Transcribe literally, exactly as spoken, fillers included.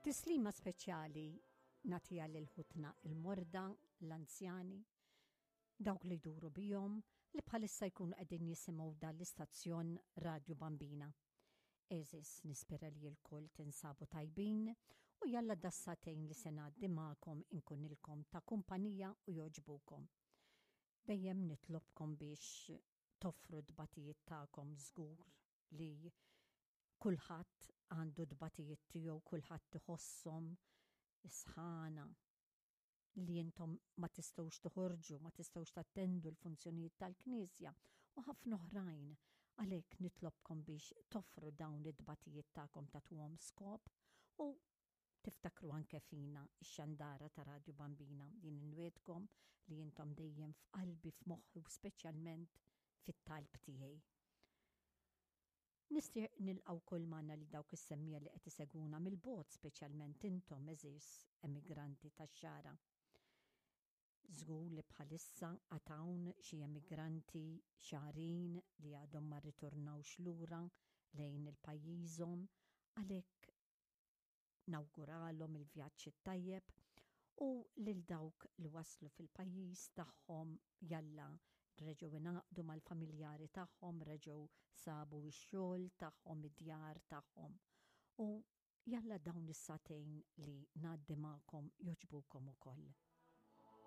Tislima speċjali nagħtiha lil ħutna il-morda, l-anzjani, dawk li jduru bihom li bħalissa jkunu qegħdin jisimgħu dan l-istazzjon Radju Bambina. Għeżież, nispera li lkoll tinsabu tajbin u jalla das-sagħtejn li se ngħaddi magħkom inkunilkom ta' kumpanija u jogħġbukom. Dejjem nitlobkom biex toffru t-tbatijiet tagħkom. Żgur li kulħadd għandu tbatijiet tiegħu, kulħadd iħosshom, is-sħana, li intom ma tistgħux toħorġu, ma tistgħux tattendu l-funzjonijiet tal-Knisja u ħafna oħrajn. Għalhekk nitlobkom biex toffru dawn it-tbatijiet tagħkom, tagħtuhom skop u tiftakru anke fina, ix-xandara ta' Radju Bambina. Jien inwiegħdkom li intom dejjem f'qalbi, f'moħħi u speċjalment fit-talb tiegħi. Nixtieq nilqa' wkoll magħna li dawk is-semmiegħa li qed isegwuna mill-bogħod, speċjalment intom, għeżież emigranti tax-Xagħra. Żgur li bħalissa għad hawn xi emigranti Xagħrin li għadhom ma rritornawx lura lejn il-pajjiżhom, għalhekk nawguralhom il-vjaġġ it-tajjeb u lil dawk li waslu fil-pajjiż tagħhom, jalla reġgħu ingħaqdu mal-familjari tagħhom, reġgħu sabu x-xogħol tagħhom, id-djar tagħhom. U jalla dawn is-sagħtejn li ngħaddi magħkom jogħġbukom ukoll.